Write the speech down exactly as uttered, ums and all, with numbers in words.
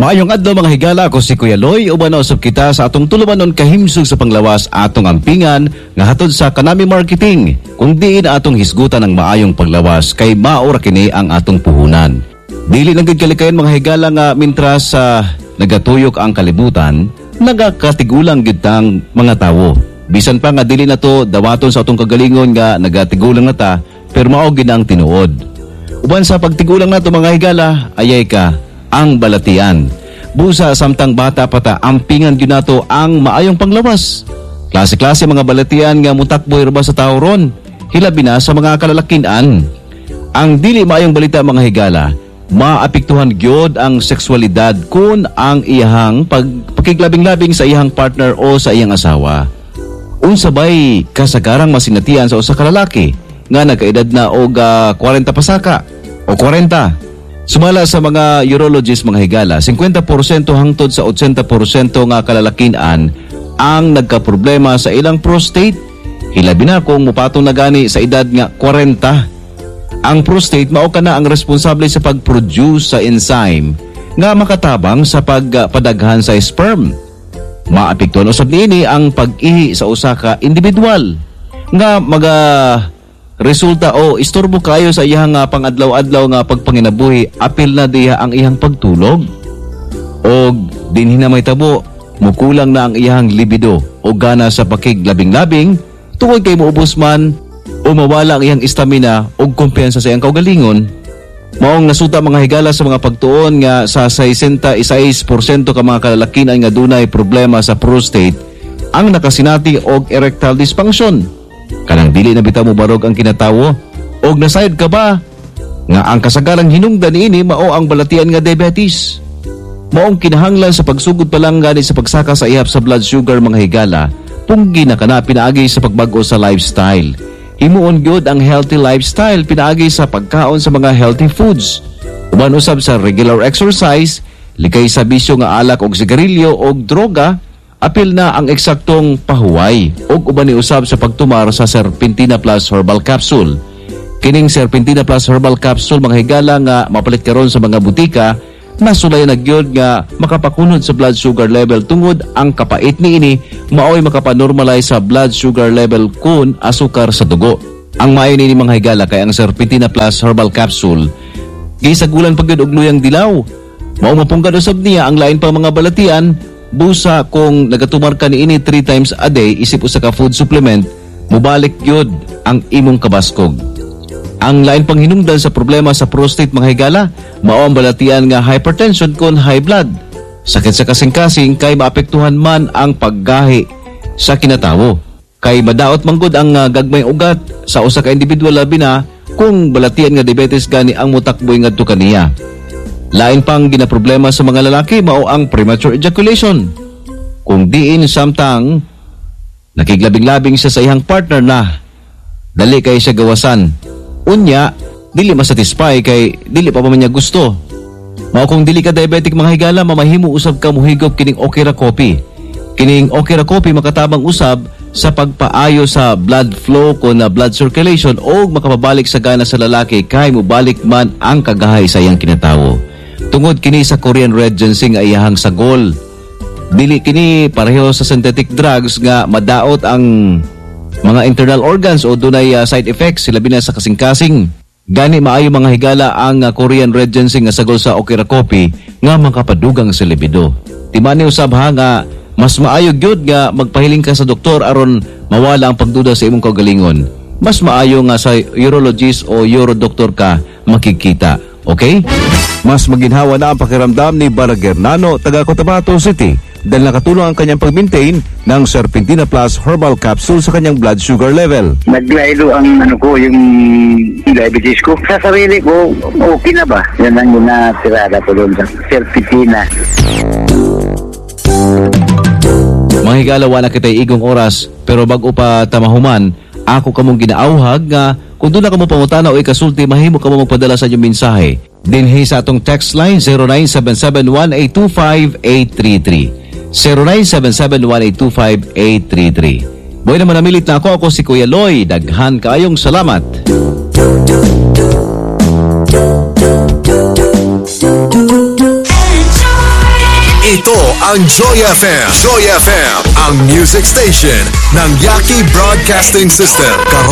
Maayong adlaw, mga higala. Ako si Kuya Loy. Uban na usab kita sa atong tulumanon Kahimsog sa Panglawas, atong ampingan nga hatod sa Kanami Marketing. Kung diin atong hisgutan ang maayong panglawas kay mao ra kini ang atong puhunan. Dili lang gid kalikayan, mga higala, nga mintras sa nagatuyok ang kalibutan, nagakatigulang gid tang mga tawo. Bisan pa nga dili na to dawaton sa atong kagalingon nga nagatigulang na ta, pero mao gid ang tinuod. Uban sa pagtigulang nato, mga higala, ayay ka ang balatian. Busa samtang bata pa ta, ampingan gyud nato ang maayong panglawas. Klase-klase mga balatian nga mutakboy ra ba sa tao ron, hilabi na sa mga kalalakinan. Ang dili maayong balita, mga higala, maapektuhan gyud ang sexualidad kun ang iyahang pag pakiglabing-labing sa iyang partner o sa iyang asawa. Unsa bay kasagarang masinatian sa usa ka lalaki nga nagkaedad na og ah, kwarenta pasaka o kwarenta? Sumala sa mga urologist, mga higala, singkwenta porsyento hangtod sa otsenta porsyento nga kalalakinan ang nagkaproblema sa ilang prostate. Hilabi na kung mupatong na gani sa edad nga kwarenta. Ang prostate mao kana ang responsable sa pag-produce sa enzyme nga makatabang sa pagpadaghan sa sperm. Maapektuhan usab niini ang pag-ihi sa usa ka individual nga maga resulta o istorbo kayo sa iyang nga pangadlaw-adlaw nga pagpanginabuhi, apil na diha ang iyang pagtulog. Og dinhi na may tabo, mukulang na ang iyang libido o gana sa pakiglabing-labing tungod kay muubos man o mawala ang iyang stamina o kumpiyansa sa iyang kaugalingon. Maong nasuta, mga higala, sa mga pagtuon nga sa sesenta y sais porsyento ka mga kalalakinan nga dunay problema sa prostate ang nakasinati og erectile dysfunction. Kanang dili na bitaw mo barog ang kinatawo. Og nasayod ka ba nga ang kasagarang hinungdan niini mao ang balatian nga diabetes? Maong kinahanglan sa pagsugod pa lang gani sa pagsaka sa ihap sa blood sugar, mga higala, punggi na kana pinaagi sa pagbag-o sa lifestyle. Himuon gyud ang healthy lifestyle pinaagi sa pagkaon sa mga healthy foods. Uban usab sa regular exercise, likay sa bisyo nga alak og sigarilyo og droga, apil na ang eksaktong pahuway ug uban ni usab sa pagtumar sa Serpentina Plus Herbal Capsule. Kining Serpentina Plus Herbal Capsule, mga higala, nga mapalit karon sa mga butika, nasulayan na gyud nga makapakunod sa blood sugar level tungod ang kapait niini maoy makapanormalize sa blood sugar level kun asukar sa dugo. Ang maayo niini, mga higala, kay ang Serpentina Plus Herbal Capsule gisagulan pa gyud og luyang dilaw. Mao mapunggan usab niya ang lain pa mga balatian busa kung nagatumar ka niini three times a day isip usa ka food supplement, mubalik gyud ang imong kabaskog. Ang lain pang hinungdan sa problema sa prostate, mga higala, mao ang balatian nga hypertension kon high blood. Sakit sa kasing-kasing kay maapektuhan man ang paggahi sa kinatawo. Kay madaot manggod ang uh, gagmay ugat sa usa ka individual, labi na kung balatian nga diabetes gani ang mutakboy ngadto kaniya. Lain pang ginaproblema sa mga lalaki mao ang premature ejaculation. Kung diin samtang nakiglabing-labing siya sa iyang partner na dali kay siya gawasan. Unya, dili masatisfy kay dili pa pa man niya gusto. Mao kung dili ka diabetic, mga higala, mamahimo usab ka muhigop kining Okra Coffee. Kining Okra Coffee makatabang usab sa pagpaayo sa blood flow ko na blood circulation o makapabalik sa gana sa lalaki kay mobalik man ang kagahay sa iyang kinatawo. Tungod kini sa Korean Red Ginseng ay iyahang sagol. Dili kini pareho sa synthetic drugs nga madaot ang mga internal organs o dunay uh, side effects, labi na sa kasing-kasing. Gani maayo, mga higala, ang uh, Korean Red Ginseng nga sagol sa Okra Coffee nga makapadugang sa libido. Timani usab ha nga mas maayo gyud nga magpahiling ka sa doktor aron mawala ang pagduda sa imong kaugalingon. Mas maayo nga sa urologist o urodoktor ka makikita. Okay? Mas maginhawa na ang pakiramdam ni Baragernano, taga Cotabato City, dahil nakatulong ang kanyang pag-maintain ng Serpentina Plus Herbal Capsule sa kanyang blood sugar level. Naglaylo ang ano ko, yung diabetes ko. Sa sarili ko, okay na ba? Yan ang ginatirada ko doon sa Serpentina. Mga higala, wala kita'y igong oras, pero bago pa tamahuman, ako kamong ginaauhag nga kung duna kamo pangutana o ikasulti, mahimo kamo magpadala sa inyong mensahe dinhi sa atong text line zero nine seven seven, one eight two five, eight three three, zero nine seven seven, one eight two five, eight three three. Boy naman namilit na ako, ako si Kuya Loy. Daghan kaayong salamat. Enjoy. Ito ang Joy F M. Joy F M, ang music station ng Yaki Broadcasting System. Karag